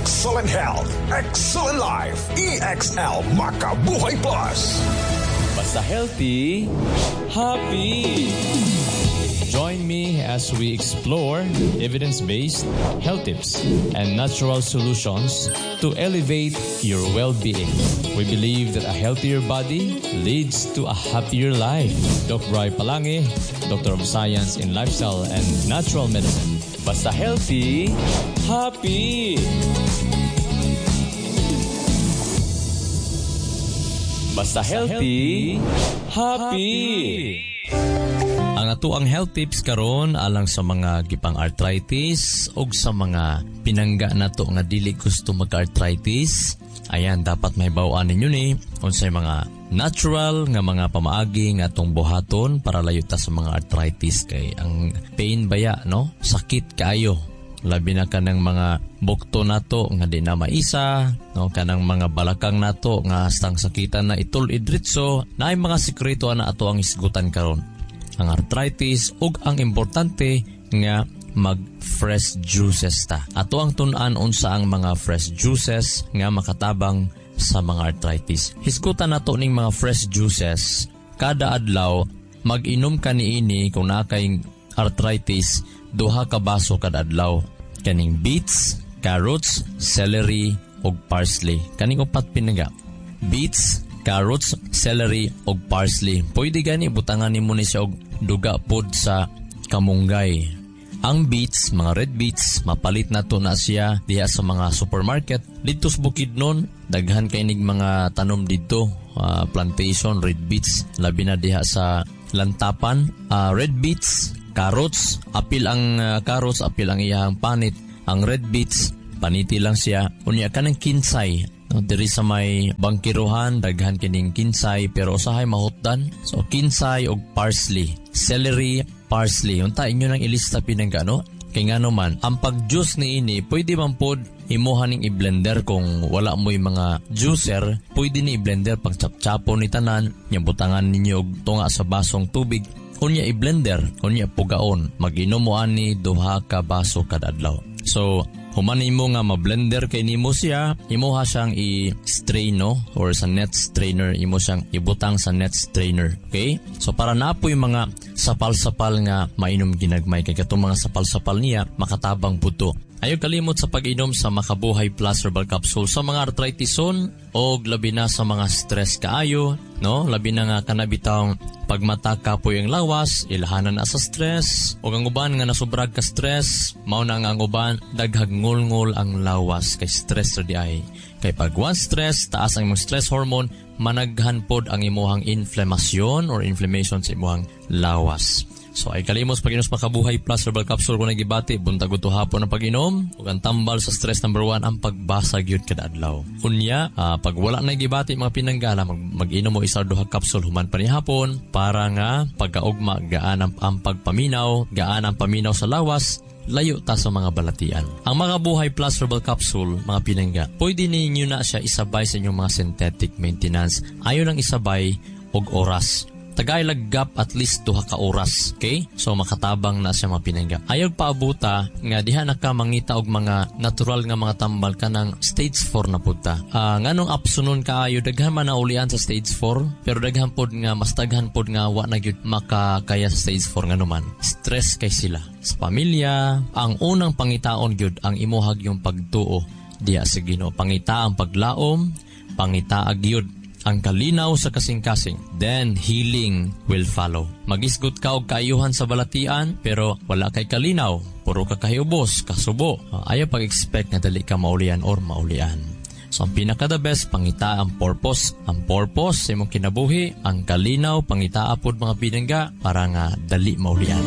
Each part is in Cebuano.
Excellent health, excellent life. EXL Makabuhay Plus. Basta healthy, happy. Join me as we explore evidence-based health tips and natural solutions to elevate your well-being. We believe that a healthier body leads to a happier life. Doc Bry Palangi, Doctor of Science in Lifestyle and Natural Medicine. Basta healthy, happy. Basta healthy, happy. Ang ato ang health tips karon alang sa mga gipang arthritis og sa mga pinangga nato nga dili gusto mag-arthritis. Ayan, dapat mahibaw-an ninyo ni unsay mga natural nga mga pamaagi nga atong buhaton para layo ta sa mga arthritis kay ang pain baya, no? Sakit kaayo. Labi na kanang mga bukto nato nga di na maisa, no? Kanang mga balakang nato nga hastang sakitan na itul-idritso, naay mga sekreto ana ato ang isgutan karon. Ang arthritis ug ang importante nga mag fresh juices ta. Ato ang tun-an unsa ang mga fresh juices nga makatabang sa mga arthritis. Hisgutan nato ning mga fresh juices kada adlaw. Mag-inom ka niini kung naa kay arthritis, 2 ka baso kada adlaw. Kaning beets, carrots, celery ug parsley. Kaning upat pinaga. Beets, carrots, celery ug parsley. Pwede gani butangan nimo ni siya og duga pod sa kamunggay. Ang beets, mga red beets, mapalit na to na siya diha sa mga supermarket. Dito sa Bukidnon, daghan kay nig mga tanom didto, plantation, red beets, labi na diha sa Lantapan. Red beets, carrots, apil ang carrots, apil ang iyang panit. Ang red beets, paniti lang siya. Unya kanang kinsay, no, diri sa may bangkiruhan, daghan kining kinsay, pero usahay mahutdan. So kinsay og parsley, celery, parsley. Unta inyo nang ilista pinangga, no? Kay ngano man, ang pag-juice ni ini, pwede man pod imuha ning i-blender kung wala mo'y mga juicer, pwede ni i-blender pag chap-chapo ni tanan, nya butangan ninyo og tunga sa basong tubig, unya i-blender, unya pugaon, mag-inom mo ani 2 ka baso kada adlaw. So, human nimo nga ma-blender kay nimo siya, imuha siyang i-strain, no? Or sa net strainer, imo siyang ibutang sa net strainer. Okay? So, para na po yung mga sapal-sapal nga mainom ginagmay, kay katong mga sapal-sapal niya, makatabang puto. Ayaw kalimot sa pag-inom sa Makabuhay Plus Herbal Capsule sa mga arthritison o labi na sa mga stress kaayo, no? Labi na nga kanabitang pagmata kapoy ang lawas, ilhanan na sa stress, o ang uban nga nasubrag ka stress, mao na nga ang uban daghag ngulngul ang lawas kay stress ra di ay. Kay pag one stress, taas ang imong stress hormone, managhan pod ang imuhang inflamasyon or inflammation sa imuhang lawas. So ay kalimos pag-inom sa Makabuhay Plus Herbal Capsule kung nagibati, buntag uto hapon ang pag-inom, ug ang tambal sa stress number 1, ang pagbasa gyud kada adlaw. Unya, pag wala na gibati mga pinanggala, mag-inom mo isa or duha capsule human pa ni hapon para nga pagkaugma gaan ang pagpaminaw, gaan ang paminaw sa lawas, layo ta sa mga balatian. Ang Makabuhay Plus Herbal Capsule, mga pinangga, pwede ninyo na siya isabay sa inyong mga synthetic maintenance. Ayo lang isabay og oras. Tagay gap at least 2 ka oras, okay? So makatabang na siya mga pinangga. Ayaw paabuta nga diha na ka mangita og mga natural nga mga tambal kanang stage 4 na pud ta. Nganong apsunon kaayo daghan man na ulian sa stage 4, pero daghan pod nga mas daghan pod nga wa na gyud makakaya sa stage 4 nganuman. Stress kay sila. Sa pamilya, ang unang pangitaon gyud ang imuhag yung pagtuo diha sa Ginoo. Pangita ang paglaom, pangita gyud ang kalinaw sa kasing-kasing. Then, healing will follow. Magisgot ka og kaayuhan sa balatian, pero wala kay kalinaw. Puro ka kahiubos, kasubo. Ayaw pag-expect nga dali ka maulian or maulian. So, ang pinaka-the best, pangita ang purpose. Ang purpose sa imong kinabuhi, ang kalinaw, pangita apod mga pinangga, para nga dali maulian.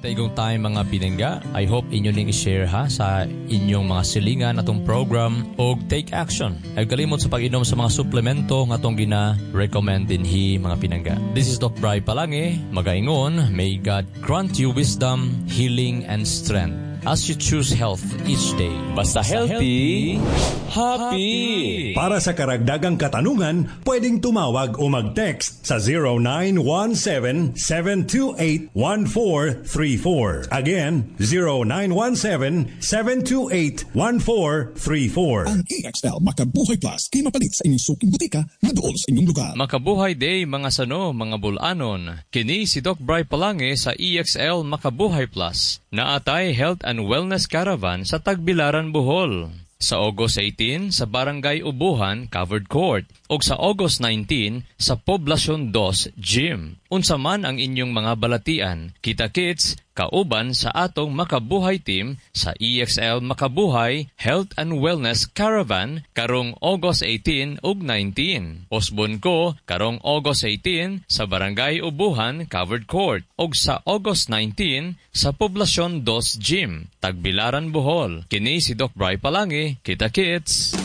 Taigong tayo mga pinangga. I hope inyo ning i-share ha sa inyong mga silingan atong program og take action. Ay kalimot sa pag-inom sa mga suplemento nga atong gina-recommend dinhi mga pinangga. This is Doc Bry Palangi, magaingon, may God grant you wisdom, healing, and strength. as you choose health each day. Basta healthy, happy! Para sa karagdagang katanungan, pwedeng tumawag o mag-text sa 0917-728-1434. Again, 0917-728-1434. Ang EXL Makabuhay Plus kay mapalit sa inyong suking butika nga duol sa inyong lugar. Makabuhay Day, mga sano, mga bulanon. Kini si Doc Bry Palange sa EXL Makabuhay Plus. Naatay Health and Wellness Caravan sa Tagbilaran, Bohol. Sa August 18 sa Barangay Ubuhan, Covered Court, ug sa August 19 sa Poblacion 2 Gym. Unsa man ang inyong mga balatian, kita kits kauban sa atong Makabuhay team sa EXL Makabuhay Health and Wellness Caravan karong August 18 ug 19. Usbon ko karong August 18 sa Barangay Ubuhan, Covered Court, ug sa August 19 sa Poblacion 2 Gym, Tagbilaran, Bohol. Kini si Doc Bry Palangi. Kita kits!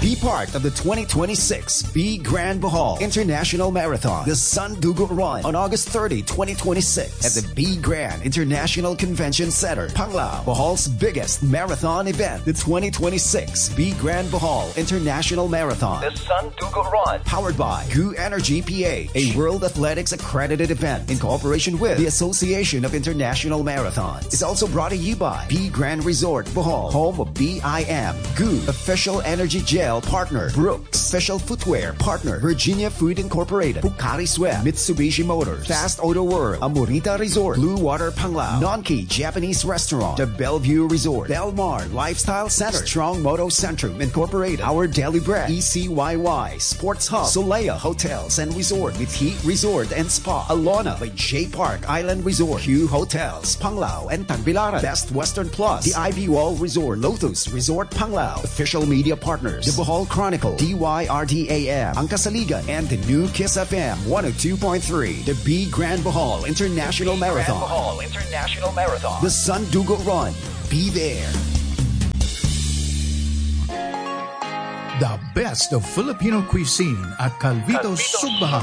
Be part of the 2026 Be Grand Bohol International Marathon, the Sandugo Run, on August 30, 2026 at the Be Grand International Convention Center, Panglao, Bohol's biggest marathon event, the 2026 Be Grand Bohol International Marathon, the Sandugo Run, powered by GU Energy PH, a World Athletics accredited event in cooperation with the Association of International Marathons. Is also brought to you by Be Grand Resort Bohol, home of BIM, GU, official energy gel partner, Brooks, official footwear partner, Virginia Food Incorporated, Pocari Sweat, Mitsubishi Motors, Fast Auto World, Amorita Resort, Blue Water Panglao, Nonki Japanese Restaurant, The Bellevue Resort, Belmar Lifestyle Center, Strong Moto Centrum Incorporated, Our Daily Bread, ECYY, Sports Hub, Solea Hotels and Resort, with Heat Resort and Spa, Alona by J Park Island Resort, Q Hotels, Panglao and Tagbilaran, Best Western Plus, The Ivy Wall Resort, Lotus Resort Panglao, official media partners, The Bohol Chronicle, DYRDAM, Ang Kasaligan, and the new Kiss FM 102.3, the Be Grand Bohol International Marathon. Bohol International Marathon. The Sandugo Run. Be there. The best of Filipino cuisine at Calvito's Sugbahan.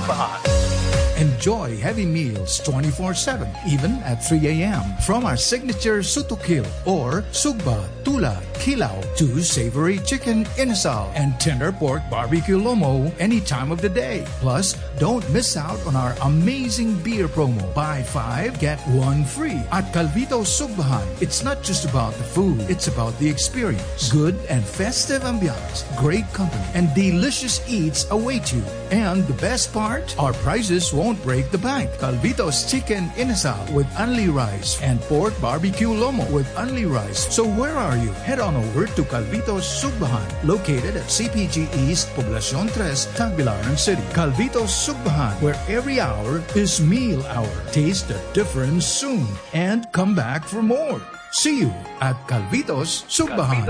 Enjoy heavy meals 24/7, even at 3 a.m. From our signature sutukil or sugba, tula, kilaw to savory chicken inasal and tender pork barbecue lomo any time of the day. Plus, don't miss out on our amazing beer promo. Buy five, get one free. At Calvito Sugbahan, it's not just about the food, it's about the experience. Good and festive ambiance, great company, and delicious eats await you. And the best part, our prices won't break the bank. Calvito's Chicken Inasal with only rice and pork barbecue lomo with only rice. So where are you? Head on over to Calvito's Sugbahan, located at CPG East, Poblacion Tres, Tagbilaran City. Calvito's Sugbahan, where every hour is meal hour. Taste the difference soon and come back for more. See you at Calvito's Sugbahan.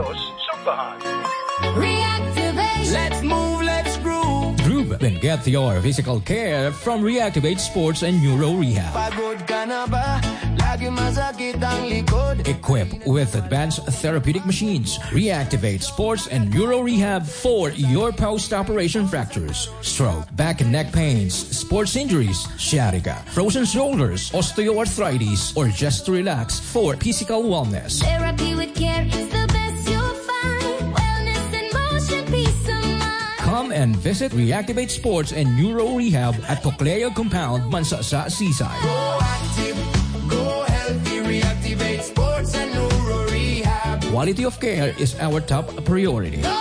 Reactivate. Let's move, let's groove. Groove and get your physical care from Reactivate Sports and Neuro Rehab. Pagod ka na ba? Lagi masakit ang likod. Equipped with advanced therapeutic machines, Reactivate Sports and Neuro Rehab for your post-operation fractures, stroke, back and neck pains, sports injuries, sciatica, frozen shoulders, osteoarthritis, or just to relax for physical wellness. Therapy with care is the best you'll find. Wellness in motion, peace of mind. Come and visit Reactivate Sports and Neuro Rehab at Cocleo Compound, Mansasa, Seaside. Go active, go healthy, reactivate sports and neuro rehab. Quality of care is our top priority. Go